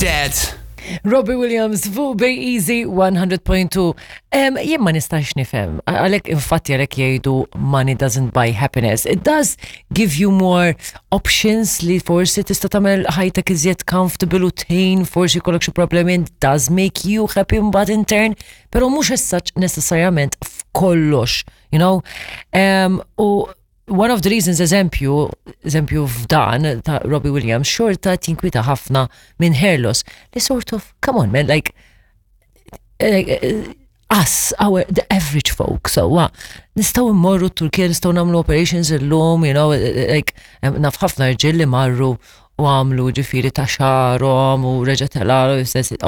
Dead. Robbie Williams fuq Bay Easy 100.2. Jien ma nistax nifhem, għalhekk infatti għalhekk jgħidu money doesn't buy happiness. It does give you more options li forsi tista' tagħmel ħajtek iżjed comfortable u tgħin forsi jkollok xi problemi it does make you happy mbagħad in turn, però mhux as such necessarjament f'kollox, you know? U one of the reasons, eżempju, eżempju f'dan ta' Robbie Williams, xorta tinkwita ħafna minn hair loss. Li sort of, come on man, like, us, our, the average folk, so, wa, nistgħu mmorru t-Turkija, nistgħu nagħmlu operations illum, you know, like, naf ħafna rġiel li marru u għamlu ġifieri ta' xagħarhom u reġa' tela,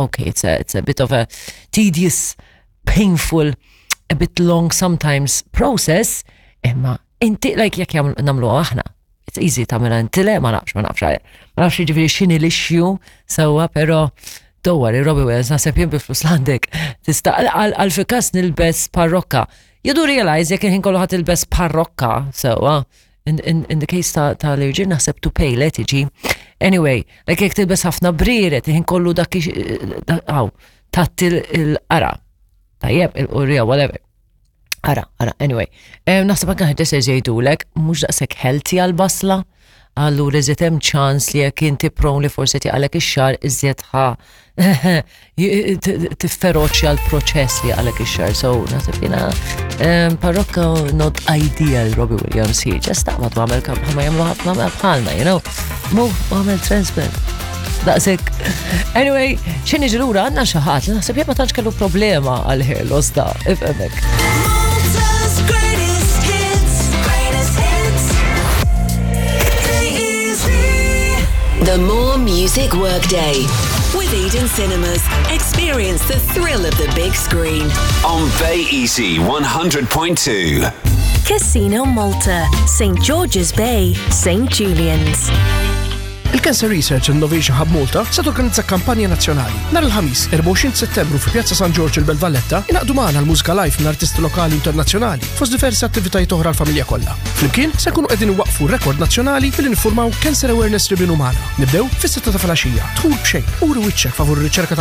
okay, it's a bit of a tedious, painful, a bit long sometimes process, imma inti, like, jekk nagħmlu aħna, it's easy tagħmilha inti le, ma nafx, ma nafx, ma nafx ġifieri x'inhi l-issue, sewwa, però don't worry, Robbie Williams, naħseb jien bi flus l-għandek, tista' għal fi kas nilbes parrokka. You do realize jekk il-ħin kollu ħa tilbes parrokka, sewwa, in the case ta' l-irġiel naħseb to pay le tiġi. Anyway, like jekk tilbes ħafna brieret, il-ħin kollu dak għaw, tatti il-qara. Tajjeb, il-qurrija, whatever. Ara, ara, anyway. Naħseb anke ħed jgħidulek, mhux daqshekk healthy għal-basla, allura iżjed hemm ċans li jekk inti prone li forsi tiqalek ix-xagħar iżjed ħa tifferoċja l-proċess li għalek ix-xagħar. So, naħseb jiena parrokka not ideal Robbie Williams hi, just taqbad għamel bħalma jagħmlu ħafna bħalna, you know. Mu għamel transplant. Daqsek. Anyway, xini ġilura għandna xi ħadd li naħseb jien ma tantx kellu problema għal hair loss da, ifhmek. Malta's greatest hits, greatest hits. Bay Easy. The More Music Workday. With Eden Cinemas, experience the thrill of the big screen. On Bay Easy 100.2. Casino Malta, St. George's Bay, St. Julian's. Il-Cancer Research and Innovation Hub Malta se torganizza kampanja nazzjonali. Nhar il-Ħamis, 24 Settembru fi Pjazza San Giorgio il-Belt Valletta, ingħaqdu magħna l-mużika live minn artisti lokali internazzjonali fost diversi attivitajiet oħra l-familja kollha. Flimkien se nkunu qegħdin waqfu rekord nazzjonali billi niffurmaw Cancer Awareness Ribbon Umana. Nibdew fis-6 ta' filgħaxija. Dħul b'xejn. Uri wiċċek favur ir-riċerka tal